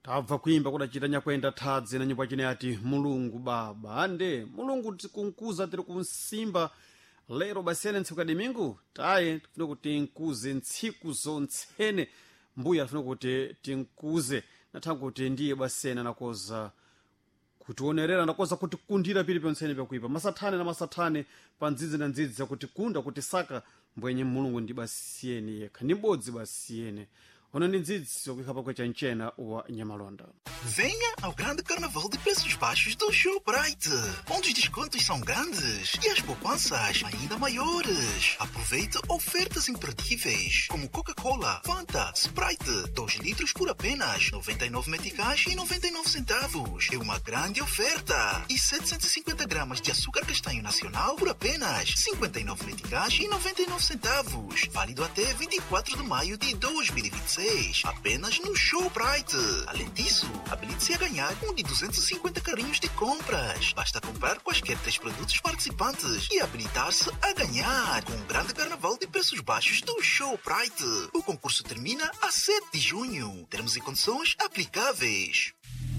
Tabva kuimba kudacita nyakwenda thadzi na nyimbo acine ati Mulungu Baba. Ande Mulungu tikunkuza, tiri kunsimba lero basene ntsiku ya Domingo, taye tifuna kuti tinkuze ntsiku zontsene. Mbuya afuna kuti tinkuze nathangu kuti ndiye basene anakoza kutionerera, ndakoza kuti kundira pili pyontsene pyakuipa masathane na masathane pa ndzidzi na ndzidzi zakuti kunda kuti saka mbwenye Mulungu ndi basiyeni yekha ndi m'bodzi basiyene ono ndi ndzidzi zokukha pakwecha mchena wa Nyamalonda. Venha ao grande carnaval de preços baixos do Shoprite, onde os descontos são grandes e as poupanças ainda maiores. Aproveite ofertas imperdíveis, como Coca-Cola, Fanta, Sprite, 2 litros por apenas 99 meticais e 99 centavos. É uma grande oferta. E 750 gramas de açúcar castanho nacional por apenas 59 meticais e 99 centavos. Válido até 24 de maio de 2026. Apenas no Shoprite. Além disso, habilite-se a ganhar um de 250 carrinhos de compras. Basta comprar quaisquer três produtos participantes e habilitar-se a ganhar com o grande carnaval de preços baixos do Shoprite. O concurso termina a 7 de junho. Termos e condições aplicáveis.